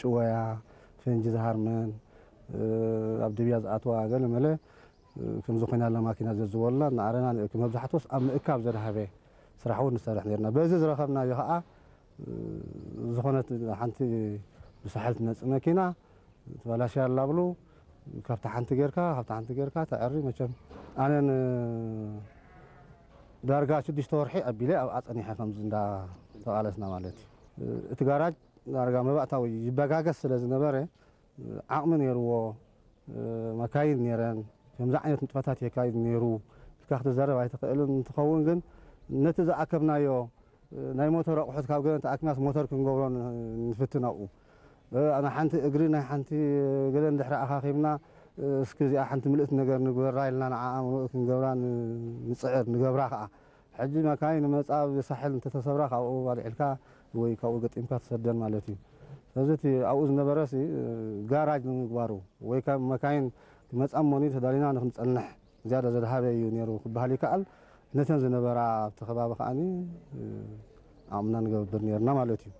ጭወያ፣ ፈንጂ ዝሃርመን፣ ኣብ ድብያ ዝኣትዋ ገለ መለ ከምዚ ኮይና ኣላ ማኪና ዘዝወላ እናኣረና ንእክብ። መብዛሕትኦስ ኣብ ምእካብ ዘድሃበ ስራሕ እውን ንሰርሕ ነርና። በዚ ዝረኸብናዮ ከዓ ዝኾነት ሓንቲ ብሳሕል ትመፅእ መኪና ትበላሽያ ኣላ ብሉ፣ ካብታ ሓንቲ ጌርካ፣ ካብታ ሓንቲ ጌርካ ተዐሪ። መቸም ኣነ ን-፣ ዳርጋ ሽዱሽተ ወርሒ ኣቢለ ኣብኣ ጸኒሐ ከምዚ እንዳ ተቓለስና ማለት እዩ። እቲ ጋራጅ ዳርጋ መባእታዊ ይበጋገስ ስለ ዝነበረ ዓቕሚ ነይርዎ፣ መካይን ነይረን፣ ከምዚ ዓይነት ንጥፈታት የካይድ ነይሩ ኢልካ ክትዛረብ ኣይትኽእልን። እንትኸውን ግን ነቲ ዝኣከብናዮ ናይ ሞተር ኣቑሑት ካብ ገለ ተኣኪብናስ ሞተር ክንገብሮ ን-፣ ንፍትን ኣብኡ። እ፣ ናይ ሓንቲ እግሪ ናይ ሓንቲ ገለ እንድሕሪ ኣኻኺብና፣ እ፣ እስኪ እዚኣ ሓንቲ ምልእቲ ነገር ንግበራ ኢልና ንዓኣ ምሉእ ክንገብራ ን-፣ ንጽዕር፣ ንገብራ ኸኣ። ሕጂ መካይን መጻ ብሳሕል እንተተሰብራ ካብኡ ኣልዒልካ ወይ ካብኡ ገጢምካ ትሰደን ማለት እዩ። ስለዚ እቲ ኣብኡ ዝነበረሲ፣ እ፣ ጋራጅ ንምግባሩ ወይ ካብ መካይን ክመጻ እሞኒ ተዳሊና ንክንጸንሕ ዝያዳ ዘድሃበ እዩ ነይሩ ክበሃል ይከኣል። ነተን ዝነበራ ኣብቲ ከባቢ ከኣኒ፣ እ፣ ዓቕምና ንገብር ነይርና ማለት እዩ።